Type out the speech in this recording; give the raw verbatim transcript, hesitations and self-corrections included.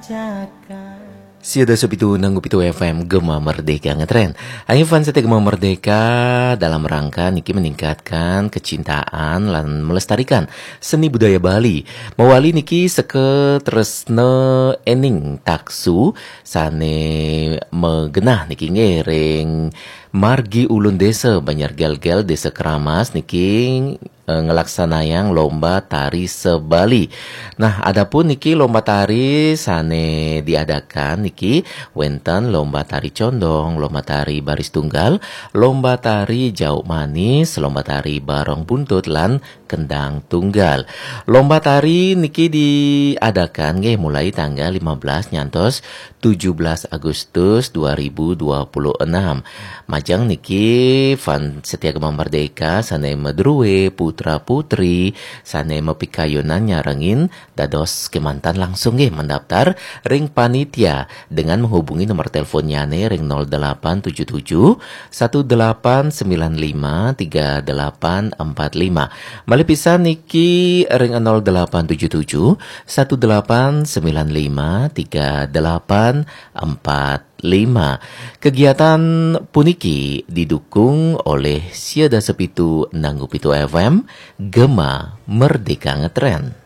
Sio dasa pitu nanggu pitu F M Gema Merdeka ngetren. Ayo fans setia Gema Merdeka, dalam rangka niki meningkatkan kecintaan lan melestarikan seni budaya Bali. Mawali niki seke tresna ening taksu sane megenah niki nggih ring margi ulun desa Banjar Gelgel, Desa Keramas niki eh, ngelaksanayang lomba tari se-Bali. Nah, adapun niki lomba tari sane diadakan niki wenten lomba tari condong, lomba tari baris tunggal, lomba tari jauk manis, lomba tari barong buntut lan kendang tunggal. Lomba tari niki diadakan nggih mulai tanggal lima belas nyantos tujuh belas Agustus dua ribu dua puluh enam. Majeng niki fans setia Gema Merdeka sane madruwe putra putri sane mapikayunan nyarengin dados kemanten langsung nggih mendaftar ring panitia dengan menghubungi nomor teleponnyane ring nol delapan tujuh tujuh satu delapan sembilan lima tiga delapan empat lima. Malih pisan niki ring nol delapan tujuh tujuh satu delapan sembilan lima tiga delapan empat lima. Kegiatan puniki didukung oleh sio dasa pitu nanggu pitu F M Gema Merdeka Ngetren.